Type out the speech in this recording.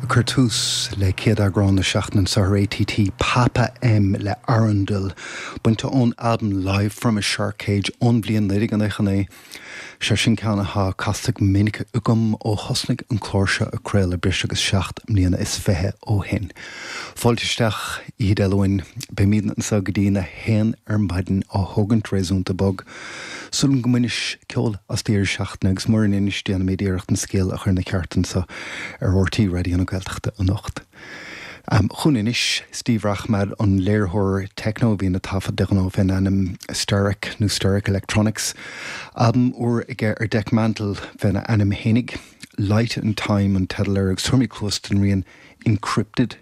Ag cur tús le céad eagrán na seachtaine anseo ar ATT, Papa M le Arundel, bainte ón albam Live From A Shark Cage ón bhliain 1999. Sé sin ceann atá casta go minic agam ó thosnaigh an clár seo ag craoladh breis agus 27 mbliana ó shin. Fáilte isteach, Oíche Dé Luain. Beimidne anseo go dtí na haon ar maidin á thógaint réasúnta bog. Súil agam go mbainis ceol as deireadh seachtaine agus mura mbainis déanfaimid iarracht an scéal a chur ina cheart anseo ar RTÉ Raidió na Gaeltachta anocht. Chugainn anois Steve Rachmad, an léiritheoir techno a bhíonn ag taifead de ghnáth fén ainm Sterac nó Sterac Electronics. Albam úr aige ar Dekmantel féna ainm fhéinig. Light and Time an teideal air agus tabharfaimid cluas don rian Encrypted.